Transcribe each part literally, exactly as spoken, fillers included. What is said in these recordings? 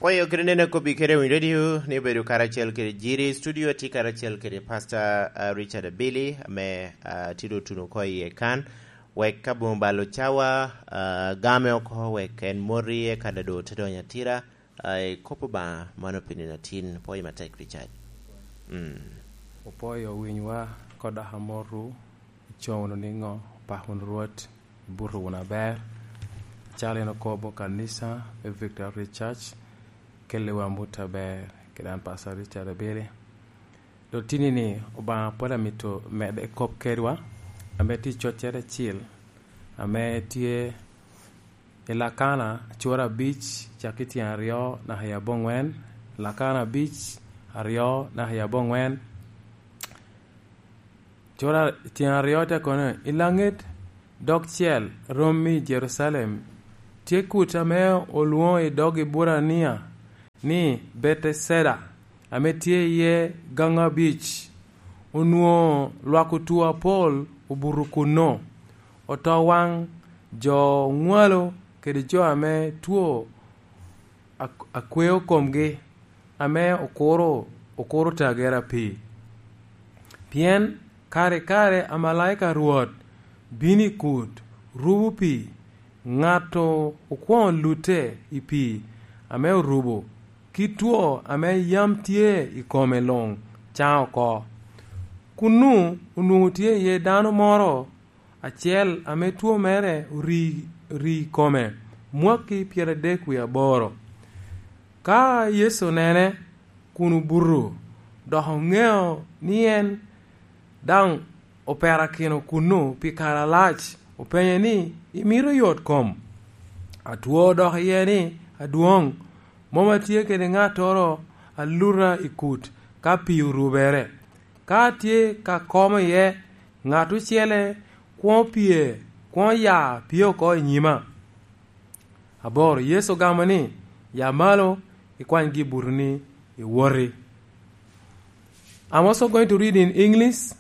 Pwoyo kede neno kobbi kede Winy Radio ni obedo karacel kede Jiri. Studio atye karacel kede Pastor, ah, Richard Abili, ame, ah, tye doŋ otuno oko iye kan. Wek aboŋo balo cawa, ah, game oko, wek en moti, eka doŋ te donyo atira, ah, i kop Obaŋa, mano pi nino atin. Pwoyo matek, Richard. Mm. Opwoyo winywa, kodok amotu, icoŋ wunu niŋo, opako wunu Rwot, ibuto wunu aber. Acalo en okobo kanisa me Victory Church, kelliwa amut aber, kede an Pastor Richard Abili. Doŋ tinni-ni, Obaŋa pwod amito medde kop kedwa, ame tye i coccere acil, ame tye i Lakana, cura abic, cak i tyen aryo naka i aboŋwen, Lakana abic, aryo naka i aboŋwen. Cura tyen aryo te kono, i laŋet dogcel romi i Jerucalem, tye kuc ame olwoŋo i dog Eburania ni Betesda, ame tye iye gaŋ abic. Onwoŋo lwak otwo apol obuto kuno, oto waŋ, jo oŋwalo kede jo ame two ak-, akweo komgi, ame okuro, okuro tagere apii. Pien kare i kare amalaika a Rwot bino i kut, rubo pii, ŋat okwoŋo lutte i pii ame orubo, kit two ame yam tye i kome luŋ caŋ oko. Kunnu onwoŋo tye iye dano moro acel ame two mere ori, ori i kome mwakki pyeradek wie aboro. Ka Yecu onene kun obuto, dok oŋeo ni en daŋ operakino kunnu pi kare alac, openye ni, "Imito yot kom?" Atwo odok iye ni, "Adwoŋ, mom atye kede ŋattoro a luta i kut ka pii orubere. Ka atye ka komo iye, ŋat ocele kwoŋo pye, kwoŋo ya pye oko i nyima." Aboro, Yecu ogamo ni, "Ya malo, ikwany gibutoni, iwoti." I'm also going to read in English,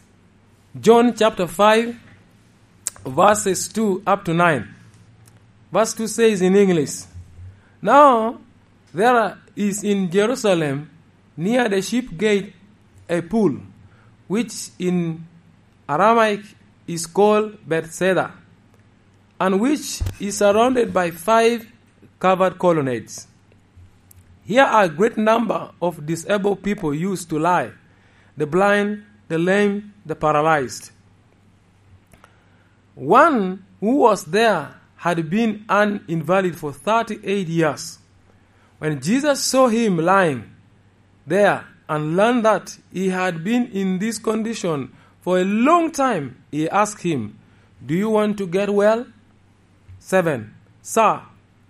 John chapter five, verses two up to nine. Verse two says in English, "Now there is in Jerusalem near the sheep gate a pool, which in Aramaic is called Bethesda, and which is surrounded by five covered colonnades. Here a great number of disabled people used to lie, the blind, the lame, the paralyzed." One who was there had been an invalid for thirty-eight years. When Jesus saw him lying there and learned that he had been in this condition for a long time, he asked him, "Do you want to get well?" Seven. "Sir,"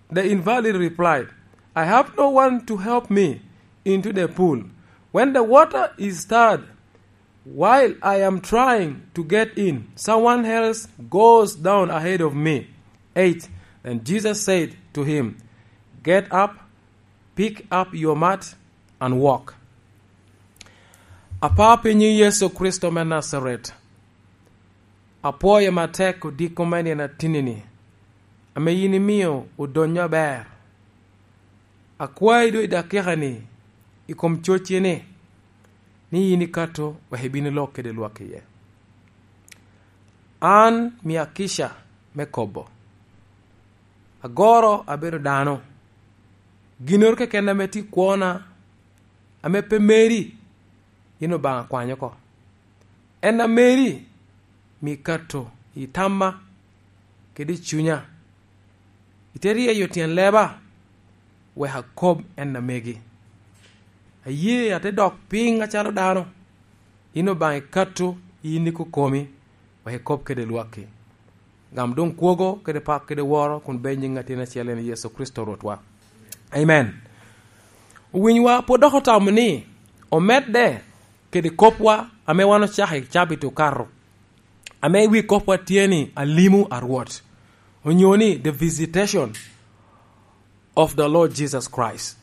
the invalid replied, "I have no one to help me into the pool when the water is stirred. While I am trying to get in, someone else goes down ahead of me." Eight. Then Jesus said to him, "Get up, pick up your mat, and walk." Apa, pi nyiŋ Yecu Kricito me Najaret, apwoyo matek odiko me nino atinni-ni, ame yin imio odonyo aber. Akwayi doŋ i dakika-ni, i kom cocci-ni, ni yin ikato wek ibin ilok kede lwak iye. An mia kica me kobo. Agoro abedo dano. Ginnoro keken ame tye i kwona, ame pe meri, yin Obaŋa kwany oko. En a meri, mi kato i tamma kede i cunya. Ite ryeyo tyen leba, wek akob en a megi. Aye ate dok piny acalo dano. Yin Obaŋa ikato, yin ikokomi, wek ikob kede lwakki. Gam doŋ kwogo kede pak kede woro kun bed nyiŋ atin acel en Yecu Kricito Rwotwa. Amen. Owinywa pwod dok otamo ni omedde kede kopwa ame wan ocako i cabit okato, ame wi kopwa tye ni Alimu a Rwot, onyo ni The Visitation of the Lord Jesus Christ.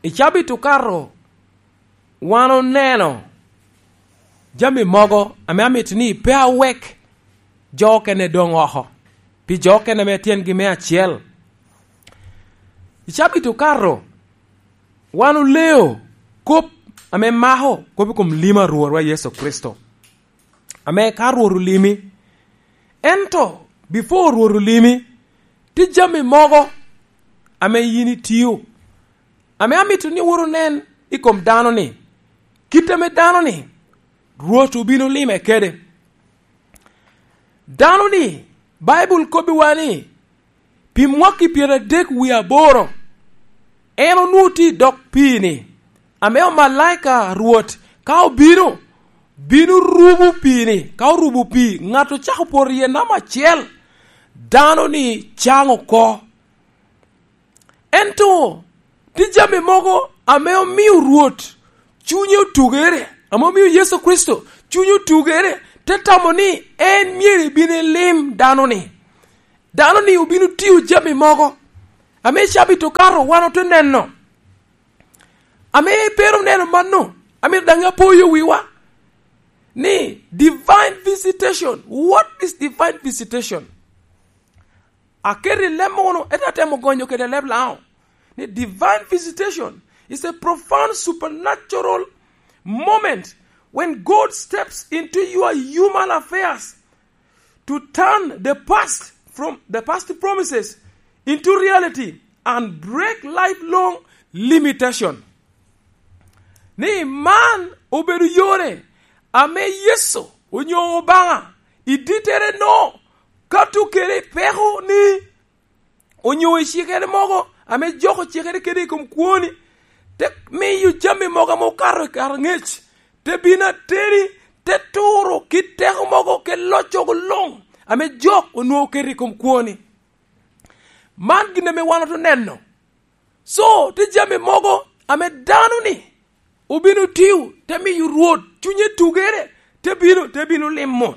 I cabit okato, wan oneno jami mogo ame amito ni pe awek jo okene doŋ oko, pi jo okene ame tyengi me acel. I cabit okato, wan oleo kop ame mako kop i kom lim a Rwotwa Yecu Kricito, ame ka Rwot olimi, ento before Rwot olimi, tye jami mogo ame yin itio, ame amito ni wot onen i kom dano-ni, kit ame dano-ni Rwot obino lime kede. Dano-ni, Baibul kobbiwa ni, pi mwaki pyeradek wie aboro, en onwoŋo tye i dog pii-ni, ame omalaika a Rwot ka obino, bino rubo pii-ni. Ka orubo pii, ŋat ocako poto iye namba acel, dano-ni caŋ oko. Ento tye jami mogo ame omio Rwot cunye otugere, ame omio Yecu Kricito cunye otugere, te tamo ni en myero ebin elim dano-ni. Dano-ni obino tio jami mogo ame cabit okato wan ote neno. Ame pe rom neno mano, amito daŋ apoyo wiwa ni divine visitation. What is divine visitation? Aketo i leb mono, ento atemo gonyo kede leb Laŋo, ni divine visitation is a profound supernatural moment when God steps into your human affairs to turn the past from the past promises into reality and break lifelong limitation. Ni man obedo yore ame Yecu onyo Obaŋa i dittere no kato kede i peko ni, onyo i cikere mogo ame jok ocikere kede i kom kwoni, te miyo jami mogo ame okato i kare aŋec, te bino ateni, te turo kit teko mogo kede loccogo luŋ ame jok onwoŋo oketo i kom kwoni. Man gin ame wan oto neno. So, tye jami mogo ame dano-ni obino tio, te miyo Rwot cunye tugere, te bino, te bino limo.